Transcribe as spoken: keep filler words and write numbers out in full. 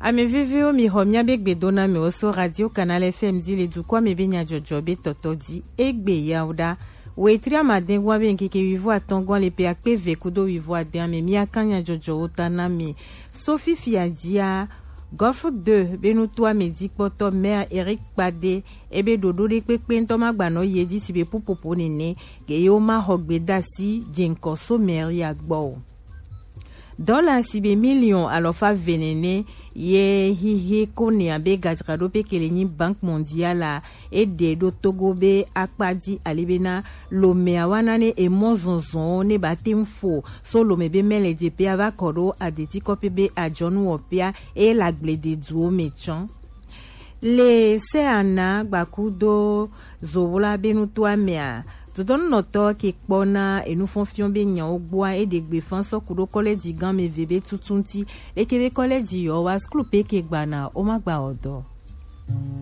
Ame vevewo, mi xɔ miabe gbedoname wo so Radio Canal F M ji le dukɔ me be nyajɔjɔ be tɔtɔ ji. Egbe yawo ɖa. Wetri amadɛngwan be ŋkeke wivo atɔngwan le pe akpe ve kudo wivo adɛn ame, miakan nyajɔjɔwo ta na mi. So fifia jia, Golf deux be nutoame jikpɔtɔ Maire Eric Kpade, ebe ɖoɖo ɖe kpekpe ŋutɔ ma gbanɔ ye ji si be pupopo nene, ke yewo ma xɔ gbedasi jeŋkɔ so mairie gbɔ o. Dɔla si be miliɔn alɔfa ve nene ye hihi ko ne abe gadzraɖoƒe ke le nyi Banque Mondiale a, eɖe ɖo Togo be akpa ji ali bena lomea wa na ne emɔ zɔzɔn ne ba te ŋu fo so lome be mɛ le jeƒea va kɔ ɖo adeti kɔƒe be adzɔnu wɔƒea eye le agblede duwo me tsɔ. Le Seana gbakudo Zowla be nutoa mea, dodɔnunɔtɔ ke kpɔna enufɔnfiɔ be nyawo gbɔa eɖe gbe fan sɔ ku ɖo kɔlɛji gan me ve be tutu ŋuti. Leke be kɔlɛji yɔ wa skul pe ke gbana o ma gba ɔdɔ.